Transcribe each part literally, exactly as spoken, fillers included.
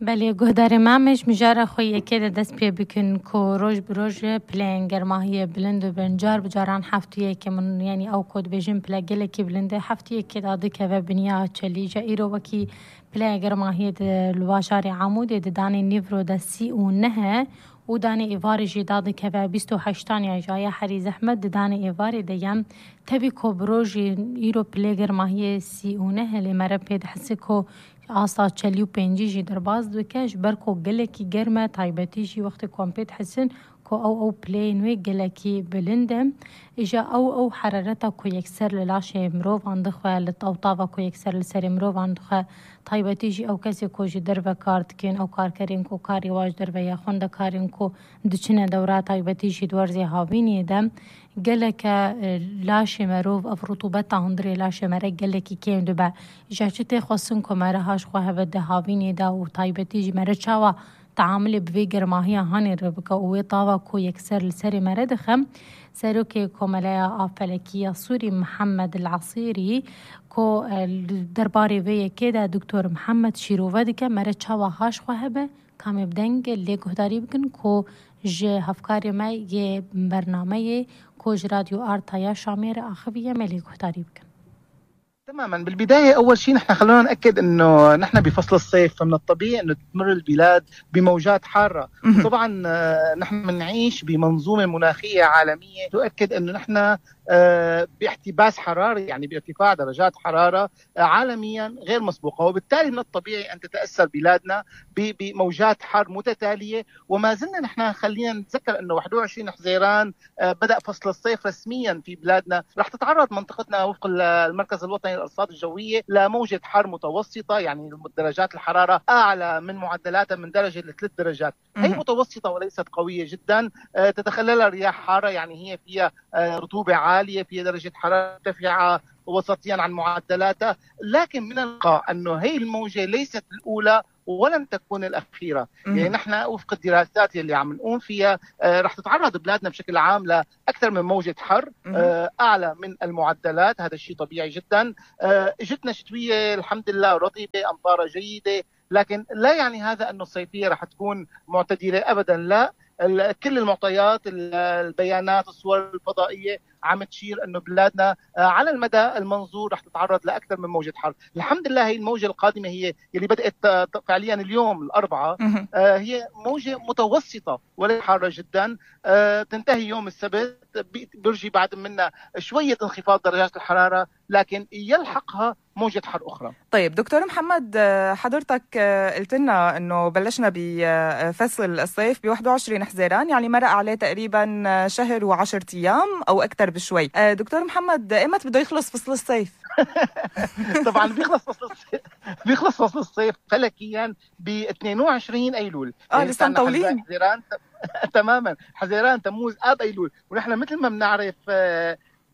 بله گهداری مامش مجاره خویه که دست پی بکن کو روز بروز پلین گرماهی بلند و بنجار بجاران هفتیه که من یعنی او کد بجن پلا گله کی بلنده هفتیه که داده که و بنیا چلی جا ایرو وکی پلا گرماهی الواشار عمودی دانی نیورو دستی و نه و دانی ایواری جی داده که و بیست و هشتان یا جای حری زحمت دانی ایواری دیم تبی کو بروز ایرو پلا گرماهی سی و نه لی مره پید حسی کو آسا چلی و پنجی جی در باز دوکش برکو گلکی گرمه تایبتی جی وقت کامپیت حسن کو او او پلی نوی گلکی بلنده ایجا او او حرارتا کو یکسر للاش مروف اندخواه لطاوطاوا کو یکسر لسر مروف اندخواه تایبتی جی او کسی کو جی در و کارت کن او کار کرین کو کاری واج در و یا خونده کارین کو دچنه دورا تایبتی جی دورزی هاوینی دم گلک لاش مروف اف رطوبتا هندری لاش مره گلکی کم دو با ایجا چه خواستن که مره هاش خواه بده هاوینی دا و تایبتی جی مره چاوا تعامل بوی گرماهی هانی رو بکا اوی طاوا کو یکسر لسری مره دخم سرو که کمالای آفلکی سوری محمد العصیری کو درباری وی که دا دکتور محمد شیروه دکه مره چاوا هاش خواه به کامی بدنگ لی گهداری بکن کو جه هفکاری ما یه برنامه کو ج رادیو آرتایا شامیر آخویه ملی گهداری بکن. تماما. بالبداية أول شيء نحن خلونا نأكد أنه نحن بفصل الصيف فمن الطبيعي أنه تمر البلاد بموجات حارة. طبعا نحن بنعيش بمنظومة مناخية عالمية تؤكد أنه نحن باحتباس حراري يعني بارتفاع درجات حرارة عالميا غير مسبوقة وبالتالي من الطبيعي أن تتأثر بلادنا بموجات حر متتالية وما زلنا نحن خلينا نتذكر أنه واحد وعشرين حزيران بدأ فصل الصيف رسميا في بلادنا. رح تتعرض منطقتنا وفق المركز الوطني للأرصاد الجوية لموجة حر متوسطة يعني درجات الحرارة أعلى من معدلاتها من درجة لثلاث درجات. هي متوسطة وليست قوية جدا تتخللها رياح حارة يعني هي فيها رطوبة عالية فيها درجة حرارة مرتفعة وسطيا عن معدلاتها لكن من الواقع أنه هي الموجة ليست الأولى ولن تكون الأخيرة. يعني نحن وفق الدراسات اللي عم نقوم فيها آه رح تتعرض بلادنا بشكل عام لأكثر من موجة حر آه أعلى من المعدلات. هذا الشيء طبيعي جدا. آه جتنا شتوية الحمد لله رطبة أمطار جيدة لكن لا يعني هذا أنه الصيفية رح تكون معتدلة أبدا لا. كل المعطيات البيانات الصور الفضائية عم تشير أنه بلادنا على المدى المنظور رح تتعرض لأكثر من موجة حر. الحمد لله هي الموجة القادمة هي اللي بدأت فعليا اليوم الأربعاء هي موجة متوسطة ولا حارة جدا تنتهي يوم السبت برجي بعد منا شوية انخفاض درجات الحرارة لكن يلحقها موجة حر أخرى. طيب دكتور محمد حضرتك قلت لنا أنه بلشنا بفصل الصيف ب واحد وعشرين حزيران يعني مرق عليه تقريبا شهر وعشرة أيام أو أكثر بشوي. دكتور محمد إمتى بده يخلص فصل الصيف؟ طبعا بيخلص فصل الصيف بيخلص فصل الصيف فلكيا ب اثنين وعشرين أيلول. اه لسه مطولين. حزيران تماما حزيران تموز آب أيلول ونحن مثل ما بنعرف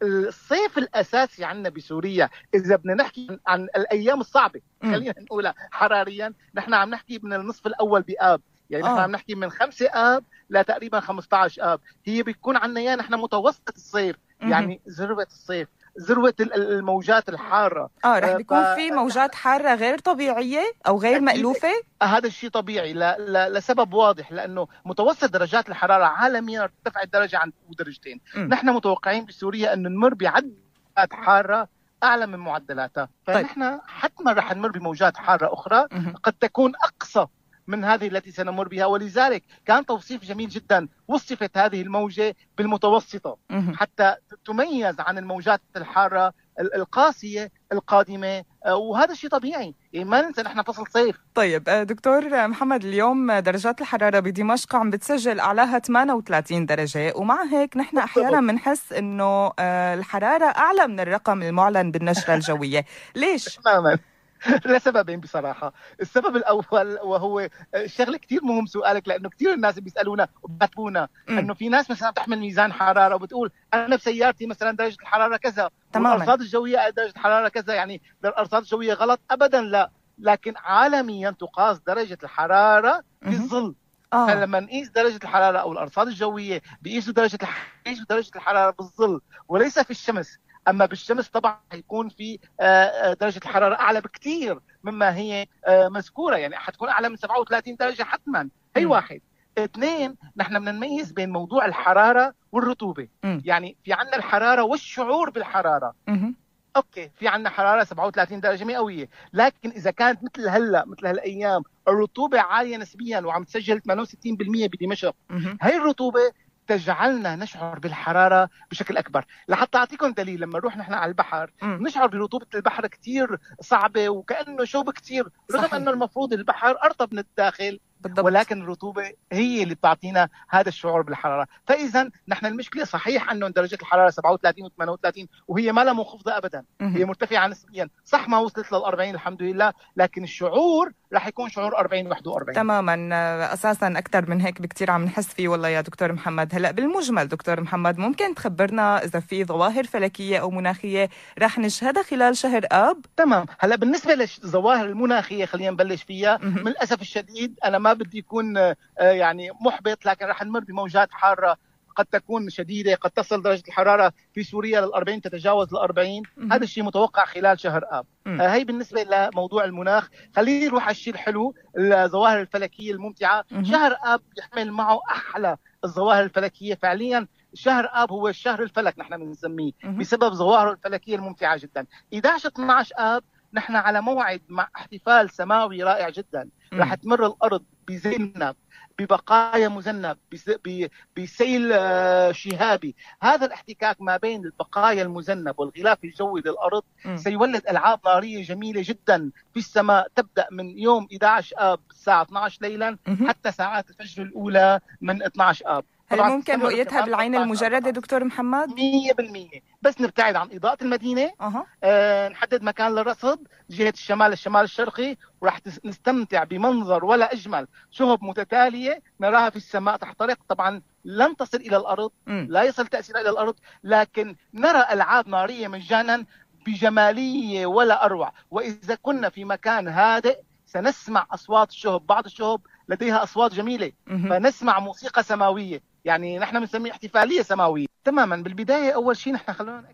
الصيف الأساسي عندنا بسوريا إذا بدنا نحكي عن الأيام الصعبة خلينا نقولها حراريا نحن عم نحكي من النصف الأول بآب يعني نحن عم نحكي من خمسة آب لتقريبا خمسة عشر آب. هي بيكون عندنا يعني نحن متوسط الصيف يعني ذروة الصيف ذروة الموجات الحارة. اه رح بيكون ف... في موجات حارة غير طبيعية أو غير مألوفة. هذا الشيء طبيعي ل... ل... لسبب واضح لأنه متوسط درجات الحرارة عالميا ارتفعت درجة عن درجتين. م. نحن متوقعين بسوريا أنه نمر بعدات حارة أعلى من معدلاتها فنحن طيب. حتما رح نمر بموجات حارة أخرى م. قد تكون أقصى من هذه التي سنمر بها ولذلك كان توصيف جميل جدا وصفت هذه الموجة بالمتوسطة حتى تميز عن الموجات الحارة القاسية القادمة وهذا الشيء طبيعي يعني ما ننسى نحن فصل صيف. طيب دكتور محمد اليوم درجات الحرارة بدمشق عم بتسجل أعلاها ثمانية وثلاثين درجة ومع هيك نحن أحيانا بنحس إنه الحرارة أعلى من الرقم المعلن بالنشرة الجوية. ليش؟ تماما لسببين بصراحة. السبب الأول وهو شغلة كتير مهم سؤالك لأنه كتير الناس بيسألونا وبيكتبونا أنه في ناس مثلا بتحمل ميزان حرارة وبتقول أنا بسيارتي مثلا درجة الحرارة كذا والأرصاد الجوية درجة الحرارة كذا يعني الأرصاد الجوية غلط أبدا لا لكن عالميا تقاس درجة الحرارة بالظل. آه. فلما نقيس درجة الحرارة أو الأرصاد الجوية بيقيسوا درجة بيقيسوا درجة الحرارة بالظل وليس في الشمس. أما بالشمس طبعا يكون في درجة الحرارة أعلى بكتير مما هي آه مذكورة، يعني حتكون أعلى من سبعة وثلاثين درجة حتما. هي م. واحد. اثنين، نحن بدنا نميز بين موضوع الحرارة والرطوبة. م. يعني في عنا الحرارة والشعور بالحرارة. م. اوكي، في عنا حراره سبعة وثلاثين درجه مئويه، لكن اذا كانت مثل هلا مثل هالايام الرطوبه عاليه نسبيا وعم تسجل ثمانية وستين بالمئة بدمشق، هاي الرطوبه تجعلنا نشعر بالحراره بشكل اكبر. لحتى اعطيكم دليل، لما نروح نحن على البحر م. نشعر برطوبه البحر كثير صعبه وكانه شوب كثير، رغم انه المفروض البحر ارطب من الداخل بالضبط. ولكن الرطوبة هي اللي بتعطينا هذا الشعور بالحرارة. فإذا نحن المشكلة صحيح أنه درجة الحرارة سبعة وثلاثين و ثمانية وثلاثين وهي ما لها منخفضة أبدا، هي مرتفعة نسبيا، صح ما وصلت للأربعين الحمد لله، لكن الشعور رح يكون شعور أربعين واحد وأربعين. تماما، أساسا أكثر من هيك بكتير عم نحس فيه والله يا دكتور محمد. هلأ بالمجمل دكتور محمد، ممكن تخبرنا إذا في ظواهر فلكية أو مناخية رح نشهدها خلال شهر آب؟ تمام. هلأ بالنسبة للظواهر المناخية خلينا نبلش فيها. من الأسف الشديد أنا ما بدي يكون يعني محبط، لكن رح نمر بموجات حارة قد تكون شديدة، قد تصل درجة الحرارة في سوريا للأربعين، تتجاوز الأربعين. هذا الشيء متوقع خلال شهر آب. آه هي بالنسبة لموضوع المناخ. خلينا نروح على الشيء الحلو، الظواهر الفلكية الممتعة. مم. شهر آب يحمل معه أحلى الظواهر الفلكية فعليا. شهر آب هو الشهر الفلك نحن بنسميه بسبب ظواهره الفلكية الممتعة جدا. إحدى عشر اثني عشر آب نحن على موعد مع احتفال سماوي رائع جدا. رح تمر الأرض بزينب، ببقايا مذنب، بسيل شهابي. هذا الاحتكاك ما بين البقايا المذنب والغلاف الجوي للأرض م. سيولد ألعاب نارية جميلة جدا في السماء، تبدأ من يوم إحدى عشر آب الساعة اثني عشر ليلا م. حتى ساعات الفجر الأولى من اثني عشر آب. هل ممكن رؤيتها بالعين المجردة دكتور محمد؟ مية بالمية، بس نبتعد عن إضاءة المدينة. أه. آه نحدد مكان للرصد جهة الشمال الشمال الشرقي، وراح نستمتع بمنظر ولا أجمل شهب متتالية نراها في السماء تحترق. طبعا لن تصل إلى الأرض، م. لا يصل تأثيرها إلى الأرض، لكن نرى ألعاب نارية مجانا بجمالية ولا أروع. وإذا كنا في مكان هادئ سنسمع أصوات الشهب، بعض الشهب لديها أصوات جميلة، م. فنسمع موسيقى سماوية، يعني نحن بنسميه احتفالية سماوية تماما. بالبداية أول شيء نحن خلونا نأكد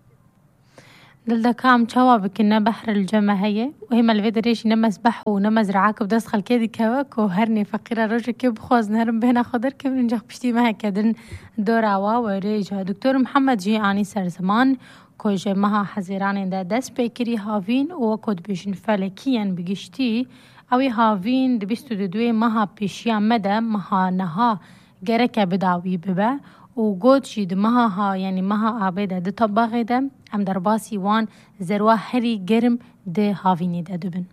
دلدا كام تشوا بكنا بحر الجمع هي وهي ما الفيدريش نمز بحو ونمز رعاك بدس خل كيدي كواك وهرني فقيرة رجل كيب خوز نهرم بهنا خضر كيف ننجح بشتي ما هكذا دور عوا وريجا. دكتور محمد جي آني سر زمان كوجه مها حزيراني دا دس بيكري هافين وكود بيشن فلكيا بجشتي اوي هافين دبستو ددوي مها بيشيان مدى مها نها جركة بداوي ببا وقود شيد مها ها يعني مها عبيدة دي طباغي دا ام درباسي وان زروا هري جرم دي هافيني دا دبن.